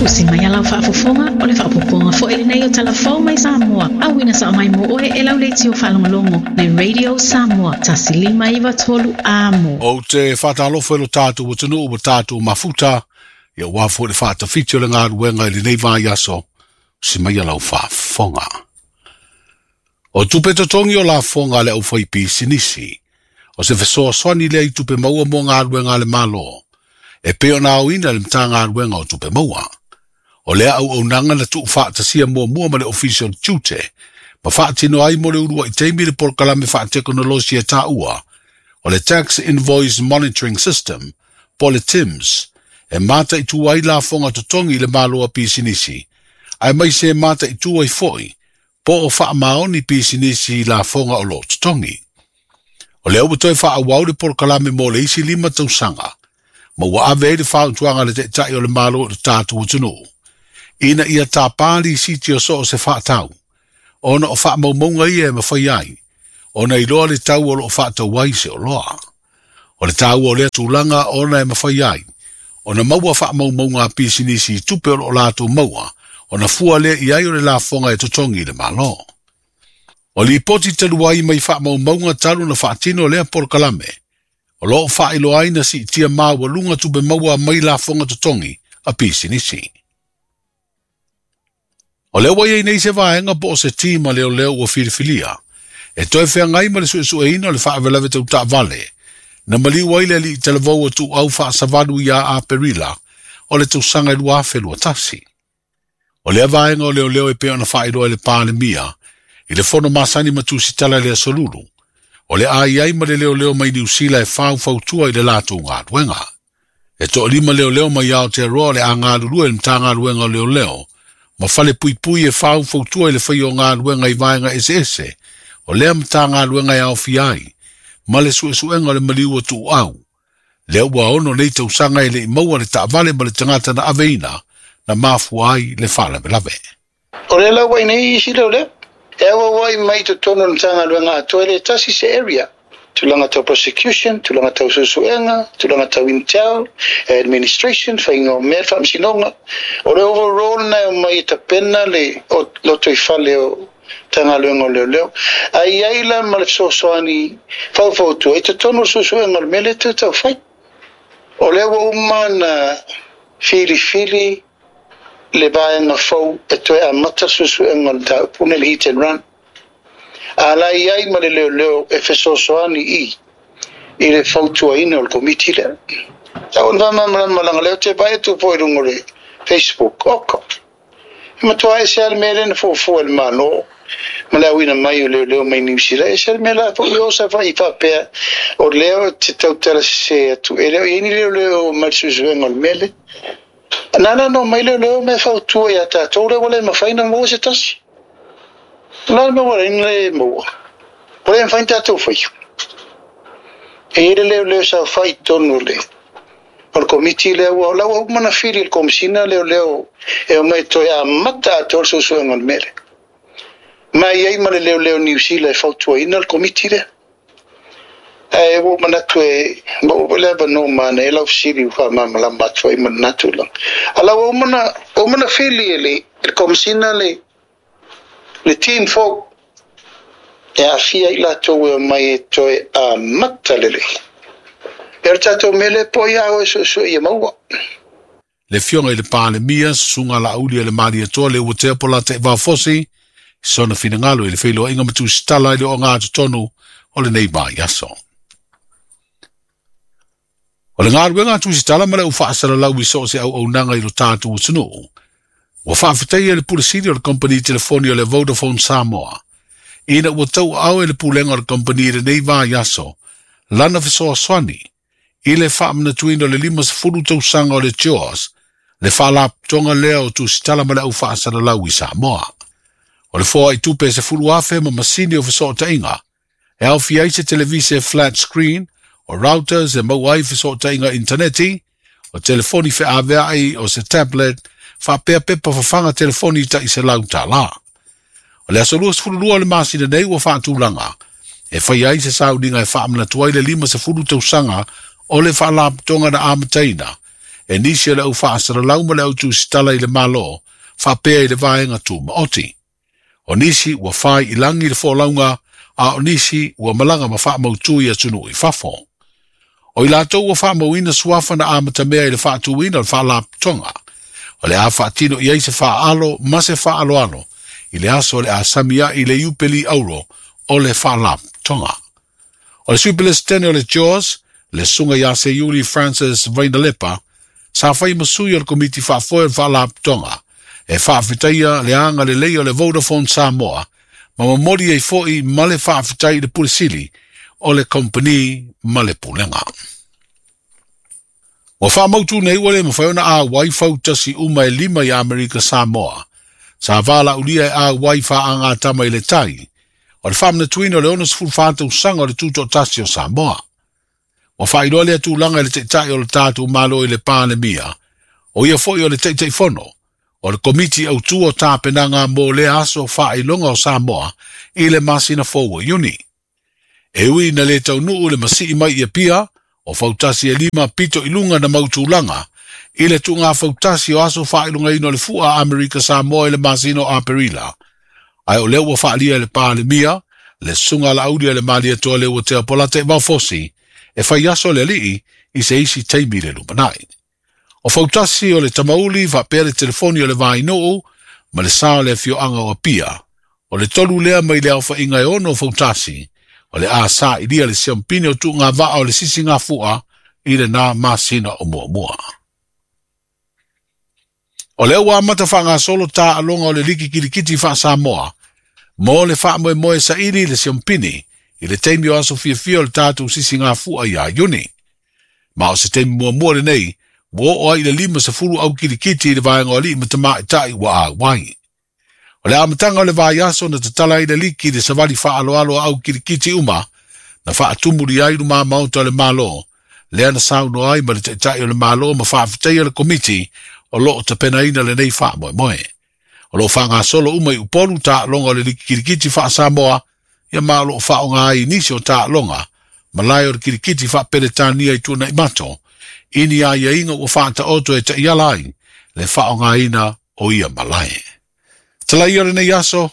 Usi mai a lau faafofoga, o le faaopoopoga foi lenei o Tala Fou mai Samoa, auina sao mai mo oe e lau leitio faalogologo le Radio Samoa 1593 Amo. Ou te faatalofa i lo tatou atunuu ua tatou mafuta, ia aua foi le faatafiti o le galuega i lenei vaiaso, usi mai a lau faafofoga. O tupe totogi o lafoga a le aufaipisinisi, o se fesoasoani lea i tupe maua mo galuega a le Malo, e pei ona aoina e le Matagaluega o Tupe Maua. O lea auaunaga na tuufaatasia muamua ma le Ofisa o le Tiute, ma faatino ai mo le uluai taimi le polokalame faatekonolosi e taua, o le Tax Invoice Monitoring System, po o le TIMS, e mataitu ai lafoga totogi i le Malo a pisinisi, aemaise e mataitu ai foi po o faamaoni pisinisi i lafoga o lo o totogi. O lea ua toe faaauau le polokalame mo le isi 5 tausaga, ma ua ave ai le fautuaga a le Taitai o le Malo i le tatou atunuu, ina ia tapa lisiti o so o se faatau, ona o faamaumauga ia e mafai ai, ona iloa le tau o lo o faatau ai se oloa. O le taua o lea tulaga ona e mafai ai, ona maua faamaumauga a pisinisi i tupe o lo o latou maua, ona fua lea i ai o le lafoga e totogi i le Malo. O lipoti talu ai mai faamaumauga talu na faatino lea polokalame, o lo o faailoa ai na siitia maualuga tupe maua mai lafoga totogi a pisinisi. O lea ua i ai nei se vaega po o se tima leoleo ua filifilia, e toe feagai ma le suesueina o le faalavelave tau taavale, na maliu ai le alii talavou o Tuuau Faasavalu ia Aperila o le tausaga i 2021. O lea vaega o leoleo e pei ona faailoa e le Palemia i le fono masani ma tusitala i le aso Lulu, o le a i ai ma le leoleo mai Niu Sila e faufautua i le latou galuega. E toalima leoleo mai Aotearoa o le a galulue i le Matagaluega o Leoleo ma fale puipui e faufautua i le faia o galuega i vaega eseese o lea Matagaluega e aofia ai ma le suesuega o le maliu o Tuuau. Lea ua 6 nei tausaga e le i maua le taavale ma le tagata na aveina na mafua ai le faalavelave. O le lau ai nei isi leoleo, e auauai mai totonu o le Matagaluega atoa e le tasi se area. Tulaga tau prosecution, tulaga tau suesuega, tulaga tau intel, administration, faiga o mea, le faamasinoga. O le overall na e omai e tapena le lotoifale o Matagaluega o Leoleo. Ae i ai la ma le fesoasoani faufautua i totonu o le suesuega o le mea lea e toe taufai. O lea ua uma na filifili le vaega fou e toe amata le suesuega o le mataupu nei, le hit and run. A la i ai ma le leoleo e fesoasoani i le fautuaina o le komiti lea. Tau ona faamalamalama leaga lea ou te vaai atu foi i luga o le Facebook. Oko. E matua ese lava le mea lea na fuafua e le Malo ma le auina mai o leoleo mai Niu Sila. Ese le mea la foi o sa fai faapea o lea o te tautala sese atu. E le o i ai ni leoleo mai le suesuega o le mea lea. Nana no mai leoleo me fautua ia tātou lea ua le mafai na maua se tasi. La le maua le maua. O le mafai na tātou whai. E i le leoleo sa whai tonu le. O le komiti lea ua lau au mana fili le komisina leoleo e o mai toe a mata a tō suesuega o le mele. Mai ai ma le leoleo Niu Sila e fautuaina le komiti lea. E ua manatu e ma ua le ava no mana e lau sili uwha mamalama atu ai manatu la. Ala ua mana fili e le komisina le team folk e afia i latou e o mai e toe a mata lele. E o tātou mele po ia o e suesue ia maua. Le fioga i le Palemia, susuga lauli e le Malietoa le ua tea po la te vafosi, sona finagalo i le feiloaiga ma tusitala i le ogatotonu o lenei vaiaso. O le galuega a tusitala ma le ufaasalalau i so o se auaunaga i lo tatou atunuu, ua faafetaia le pule sili o le kompani telefoni o le Vodafone Samoa, ina ua tauaao e le pulega o le kompani i lenei vaiaso, lana fesoasoani i le faamanatuina o le 50 tausaga o le JAWS, le faalapotopotoga lea o tusitala ma le aufaasalalau i Samoa. O le foa i tupe e 10,000 ma masini o fesootaiga, e aofia ai se televise flat screen, o routers e maua ai fesootaiga interneti, o telefoni feaveai o se tablet, faapea pepa fafaga telefoni tai $100. O le aso 22 o le masina nei ua faatulaga, E faia ai se sauniga e faamanatu ai le 50 tausaga o le Faalapotopotoga na amataina e nisi o le au faasalalau ma le au tusitala i le Malo faapea i le vaega tumaoti. O nisi ua fai i lagi le folauga, a o nisi ua malaga ma faamautu i atunuu i fafo. O i latou ua faamauina suafa na amatamea i le faatuina o le Faalapotopotoga, o le a faatino i ai se faaalo ma se faaaloalo i le aso o le a sami ai le Iupeli Auro o le Faalapotopotoga. O le Sui Pelesitene o le JAWS, le Susuga ia Seiuli Francis Vainalepa, sa fai ma sui o le Komiti Faafoe o le Faalapotopotoga e faafetaia le agalelei o le Vodafone Samoa ma momoli ai foi ma le faafetai i le Pule Sili o le Kompeni ma le Pulega. Ua faamautu nei ua le mafai ona auai fautasi uma e lima i Amerika Samoa, sa valaaulia e auai faagatama i le tai, o le faamanatuina o le 64 tausaga o le Tutoatasi o Samoa. Ua faailoa lea tulaga i le Taitai o le tatou Malo i le Palemia, o ia foi o le Taitaifono o le Komiti Autu o Tapenaga mo lea aso faailoga o Samoa i le masina fou o Iuni. E ui ina le taunuu le masii mai i Apia, o fautasi e lima pito i luga na mau tulaga i le tuuga fautasi o aso faailogaina o le Fua a Amerika Samoa i le masina o Aperila. Ae o lea ua faaalia e le Palemia, le Susuga a Laauli a le Malietoa Leuatea Polataivao Fosi, e fai aso le alii i se isi taimi i le lumanai. O fautasi o le Tamauli faapea le telefoni o le Vainuu ma le sa o le afioaga o Apia, o le tolu lea mai le aofaiga e ono o fautasi, o le a sailia le siampini o tuuga vaa o le sisigafua i lena masina o muamua. O lea ua amata faagasolo taaloga o le Liki Kilikiti faa-Samoa mo le faamoemoe saili i le siampini i le taimi o aso fiafia o le tatou sisigafua ia Iuni. Ma o se taimi muamua lenei ua oo ai i le 50 au kilikiti i le vaega o alii ma tamaitai ua auai. O le amataga o le vaiaso na tatala ai le liki i le savali faaaloalo a au kilikiti uma na faatumuli ai luma maota o le Malo, lea na saunoa ai ma le Taitai o le Malo ma faafetaia le Komiti o lo o tapenaina lenei faamoemoe. O lo o faagasolo uma i Upolu taaloga o le Liki Kilikiti faa-Samoa, ia ma o lo o faaaoga ai i nisi o taaloga malae o le kilikiti faa-Peretania i Tuanaimato, i ni aiaiga ua faataoto e taiala ai le faaaogaina o ia malae. Talaia o lenei aso.